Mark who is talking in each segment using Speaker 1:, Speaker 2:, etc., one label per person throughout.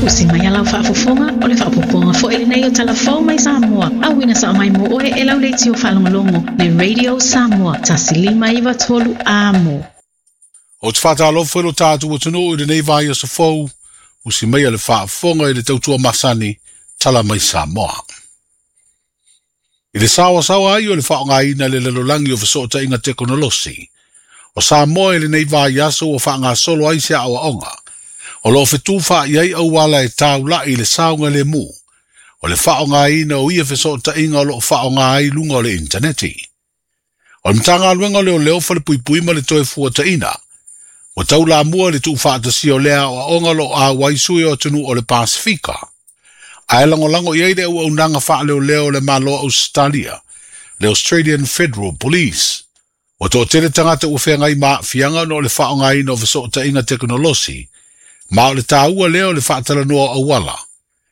Speaker 1: Usi mai a lau faafofoga, o le faaopoopoga foi lenei o Tala Fou mai Samoa, auina sao mai mo oe e lau leitio faalogologo, le Radio Samoa, 1593 Amo.
Speaker 2: Ou te faatalofa i lo tatou atunuu i lenei vaiaso fou, usi maia le faafofoga i le tautua masani, Tala Mai Samoa. I le saoasaoa ai o le faaaogaina le lalolagi o fesootaiga tekonolosi, o Samoa i lenei vaiaso ua faagasolo ai se aoaoga, o loo fetufaai ai auala e taulai i le saogalemu, o le faaaogaina o ia fesootaiga o loo faaaoga ai luga o le initaneti. O le Matagaluega o Leoleo, Falepuipui ma le Toefuataiga, ua taulamua i le tuufaatasia o lea aoaoga o loo auai sui o atunuu o le Pasefika, ae lagolago i ai le auaunaga faaleoleo o le Malo o Ausetalia, le Australian Federal Police. Ua toatele tagata ua feagai ma aafiaga ona o le faaaogaina o fesootaiga tekonolosi, ma o le taua lea o le faatalanoa o auala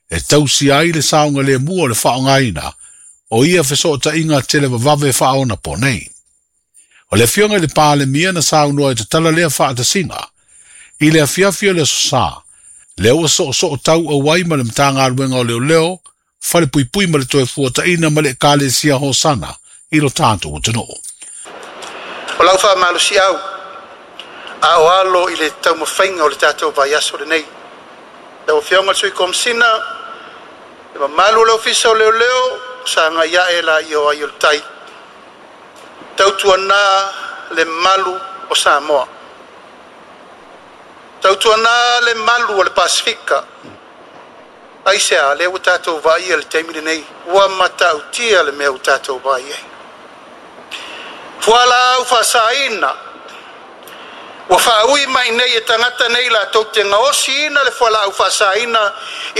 Speaker 2: e tausia ai le saogalemu o le faaaogaina o ia fesootaiga televavave faaonaponei. O le afioga i le Palemia na saunoa e tatala lea faatasiga i le afiafi o le Aso Sa, lea ua soosoo tau auai ma le Matagaluega o Leoleo, Falepuipui ma le Toefuataiga ma le Ekalesia Hosana i lo tatou atunuu.
Speaker 3: O lau faamalosiau a o alo i le taumafaiga o le tatou vaiaso lenei. Lau Afioga i le Sui Komesina, le mamalu o le Ofisa o Leoleo, sagai ae laia o ai o le tai. Tautuana le malu o Samoa. Tautuana le malu o le Pasefika. Aisea lea ua tatou vaaia i le taimi lenei, ua matautia le mea ua tatou vaai ai. Fualaau faasaina ua faaui mai nei e tagata nei latou te gaosiina le fualaau faasaina i